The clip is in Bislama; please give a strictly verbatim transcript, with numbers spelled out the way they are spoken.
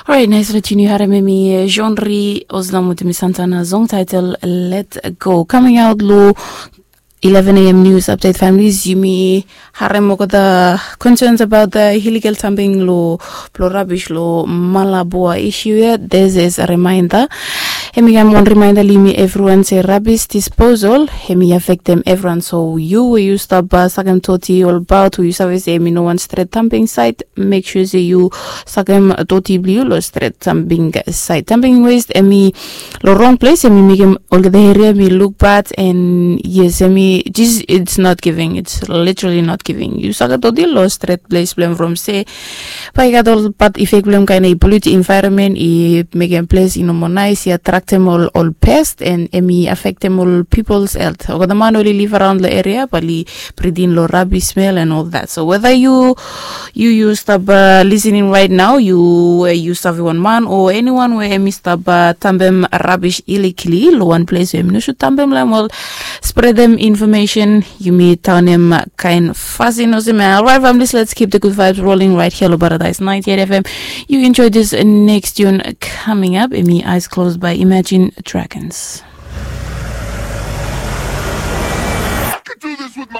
Orait, nais, let yumi harem emi genre olsem wetem mi santana song title Let Go coming out lo eleven a.m. news update families. Yumi harem olgeta concerns about the illegal dumping lo blo rubbish lo Malabua issue ia. This is a reminder. Emi kam wan reminder lo yumi everyone se rubbish disposal emi affectem everyone. So yu we yu stap sakem doti olbaot we yu save se emi no wan stret dumping site, make sure se yu sakem doti blo yu lo stret dumping site. Dumping waste emi lo wrong place emi mekem olgeta area emi look bad. And yes, emi just, it's not giving, it's literally not giving. Yu sakem doti lo stret place blo em from se bae i gat ol bad effect blo em, kaen i pollute environment, i mekem place i no moa nais, i attractem ol ol pest and emi affectem ol people's health. Olgeta man oli live around lo area bae oli breathe in lo rubbish smell and all that. So whether yu yu yu stap listening right now, yu we yu save wan man o anyone we emi stap dumpem rubbish illegally lo wan place we emi no should dumpem lo em, ol spreadem information. Yumi taonem kaen fasin olsem ia. Alright families, let's keep the good vibes rolling right here lo Paradise ninety-eight F M. You enjoy this next tune coming up, emi Eyes Closed by Imagine Dragons.